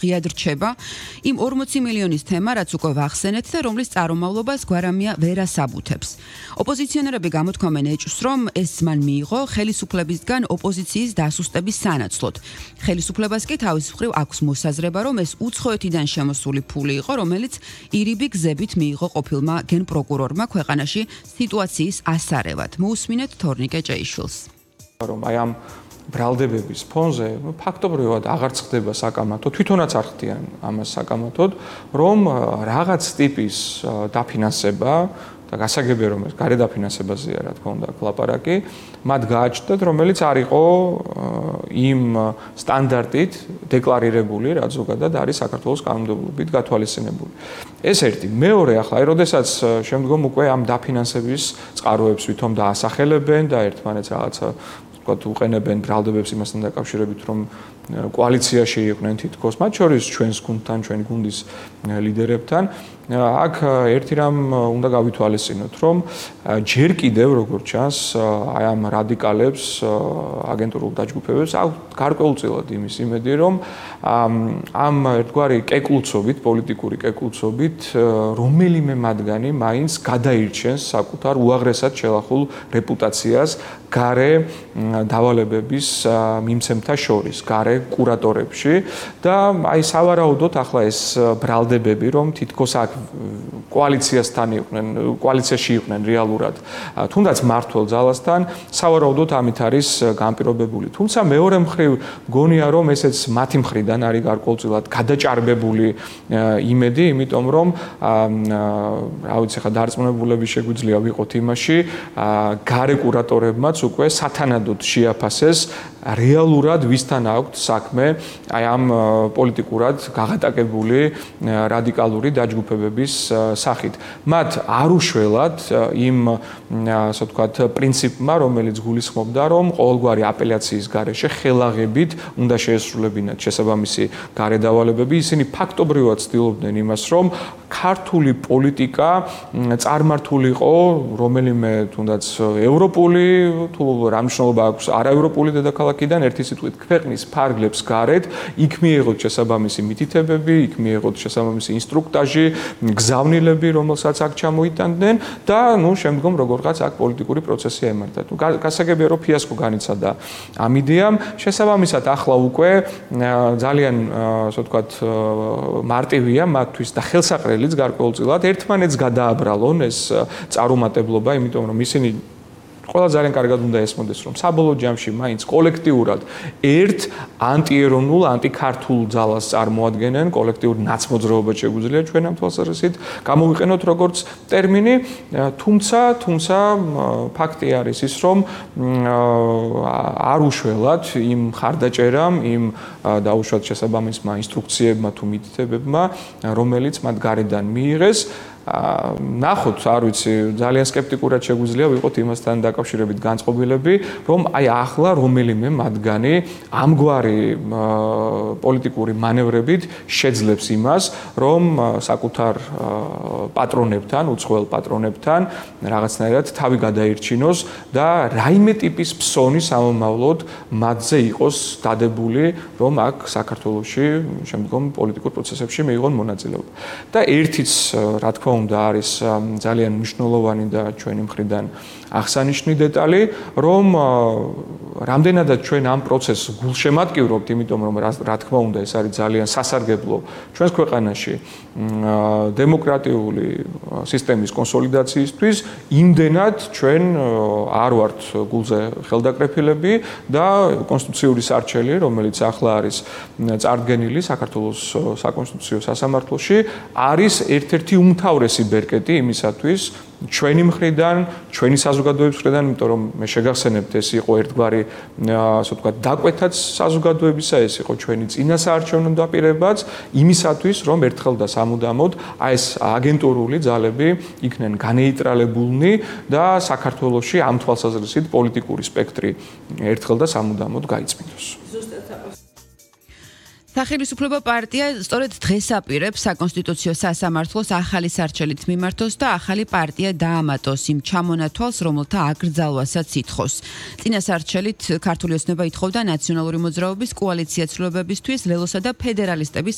ღიად რჩება იმ 40 მილიონის თემა, რაც უკვე ვახსენეთ და რომლის წარმომავლობას გვარამია ვერ ასაბუთებს. ოპოზიციონერები გამოთქვამენ ეჭვს, რომ ეს მან მიიღო ხელისუფლებისგან ოპოზიციის დასუსტების სანაცვლოდ. ხელისუფლებას კი თავის მხრივ აქვს მოსაზრება, რომ ეს უცხოეთიდან შემოსული ფული იყო, რომელიც ირიბი გზებით მიიღო ყოფილმა გენპროკურორმა ქვეყანაში სიტუაციის ასარევად. მოусმინეთ თორნიკე ჭეიშვილს. რომ აი ამ ბრალდებების ფონზე ფაქტობრივად აღარ ხდება საკამათო, თვითონაც არ ხდიან ამას საკამათოდ, რომ რაღაც ტიპის დაფინანსება და გასაგებია რომ ეს გარედაფინანსებაზეა, რა თქმა უნდა, ლაპარაკი, მათ გააჩნდათ, რომელიც არ იყო იმ სტანდარტით დეკლარირებული, რაც ზოგადად არის საქართველოს კანონმდებლობით გათვალისწინებული. ეს ერთი. მეორე, ახლა აი როდესაც შემდგომ უკვე ამ დაფინანსების წყაროებს ვითომ დაასახელებენ და ერთმანეთს რაღაცა უყენებენ ბრალდებებს იმასთან დაკავშირებით, რომ კოალიციაში იყვნენ თითქოს, მათ შორის ჩვენს გუნდთან, ჩვენი გუნდის ლიდერებთან. აქ ერთი რამ უნდა გავითვალისწინოთ, რომ ჯერ კიდევ როგორც ჩანს, აი ამ რადიკალებს, აგენტურულ დაჯგუფებებს აქვს გარკვეულწილად იმის იმედი, რომ ამ ერთგვარი კეკლუცობით, პოლიტიკური კეკლუცობით, რომელიმე მათგანი მაინც გადაირჩენს საკუთარ უაღრესად შელახულ რეპუტაციას გარე დავალებების მიმცემთა შორის, გარე კურატორებში და აი სავარაუდოდ ახლა ეს ბრალდებები, რომ თითქოს აქ კოალიციასთან იყვნენ, კოალიციაში იყვნენ რეალურად, თუნდაც მართლ ძალასთან, სავარაუდოდ ამით არის განპირობებული. თუმცა მეორე მხრივ გონია, რომ ესეც მათი მხრიდან არის გარკვეულწილად გადაჭარბებული იმედი, იმიტომ რომ რა ვიცი, ხა დარწმუნებულები შეგვიძლია ვიყოთ იმაში, გარე კურატორებმაც უკვე სათანადოდ შეაფასეს რეალურად ვისთან აქვთ საქმე აი ამ პოლიტიკურად გაღატაკებული რადიკალური დაჯგუფებების სახით. მათ არ უშველათ იმ ასე ვთქვათ პრინციპმა, რომელიც გულისხმობდა, რომ ყოველგვარი აპელაციის გარეშე ხელაღებით უნდა შეესრულებინათ შესაბამისი გარედავალებები. ისინი ფაქტობრივად ცდილობდნენ იმას, რომ ქართული პოლიტიკა წარმართულიყო რომელიმე თუნდაც ევროპული თუ რა მნიშვნელობა აქვს არაევროპული დედაქალაქიდან ერთი სიტყვით ქვეყნის ფარგლებს გარეთ, იქ მიიღოთ შესაბამისი მითითებები, იქ მიიღოთ შესაბამისი ინსტრუქტაჟი, გზავნილები, რომელსაც აქ ჩამოიტანდნენ და ნუ შემდგომ როგორღაც აქ პოლიტიკური პროცესი ემართათ. გასაგებია რომ ფიასკო განიცადა ამ იდეამ, შესაბამისად ახლა უკვე ძალიან ასე ვთქვათ მარტივია მათთვის და ხელსაყრელიც გარკვეულწილად ერთმანეთს გადააბრალონ ეს წარუმატებლობა, იმიტომ რომ ისინი ყველა ძალიან კარგად უნდა ესმოდეს, რომ საბოლოო ჯამში მაინც კოლექტიურად ერთ ანტიეროვნულ, ანტიქართულ ძალას წარმოადგენენ, კოლექტიურ ნაცმოძრაობას შეგვიძლია ჩვენ ამ თვალსაზრისით გამოვიყენოთ როგორც ტერმინი, თუმცა ფაქტი არის ის, რომ არ უშველათ იმ ხარდაჭერამ, იმ დაუშვათ შესაბამისმა ინსტრუქციებმა თუ მითითებებმა, რომელიც მათ გარედან მიიღეს. ნახოთ, არ ვიცი, ძალიან სკეპტიკურად შეგვიძლია ვიყოთ იმასთან დაკავშირებით განწყობილები, რომ აი ახლა რომელიმე მათგანი ამგვარი პოლიტიკური მანევრებით შეძლებს იმას, რომ საკუთარ პატრონებთან, უცხოელ პატრონებთან რაღაცნაირად თავი გადაირჩინოს და რაიმე ტიპის ფსონი სამომავლოდ მათზე იყოს დადებული, რომ აქ საქართველოში შემდგომ პოლიტიკურ პროცესებში მიიღონ მონაწილეობა. და ერთიც, რა თქმა უნდა, არის ძალიან მნიშვნელოვანი და ჩვენი მხრიდან აღსანიშნავი დეტალი, რომ რამდენადაც ჩვენ ამ პროცესს გულშემატკივრობთ, იმიტომ რომ რა თქმა უნდა ეს არის ძალიან სასარგებლო ჩვენს ქვეყანაში დემოკრატიული სისტემის კონსოლიდაციისთვის, იმდენად ჩვენ არ ვართ გულზე ხელდაკრეფილები და კონსტიტუციური სარჩელი, რომელიც ახლა არის წარდგენილი საქართველოს საკონსტიტუციო სასამართლოში, არის ერთ-ერთი უმთავრესი ბერკეტი იმისათვის, ჩვენი მხრიდან, ჩვენი საზოგადოების მხრიდან, იმიტომ რომ მე შეგახსენებთ, ეს იყო ერთგვარი, ასე ვთქვათ, დაკვეთაც საზოგადოებისა, ეს იყო ჩვენი წინასაარჩევნო დაპირებაც, იმისათვის, რომ ერთხელ და სამუდამოდ აი ეს აგენტურული ძალები იქნენ განეიტრალებულნი და საქართველოში ამ თვალსაზრისით პოლიტიკური სპექტრი ერთხელ და სამუდამოდ გაიწმინდოს. სახელმწიფო პარტია სწორედ დღეს აპირებს საკონსტიტუციო სასამართლოს ახალი სარჩელით მიმართოს და ახალი პარტია დაამატოს იმ ჩამონათვალს, რომელთა აკრძალვასაც ითხოვს. წინა სარჩელით ქართული ოცნება ითხოვდა ნაციონალური მოძრაობის კოალიცია ცვლილებებისთვის ლელოსა და ფედერალისტების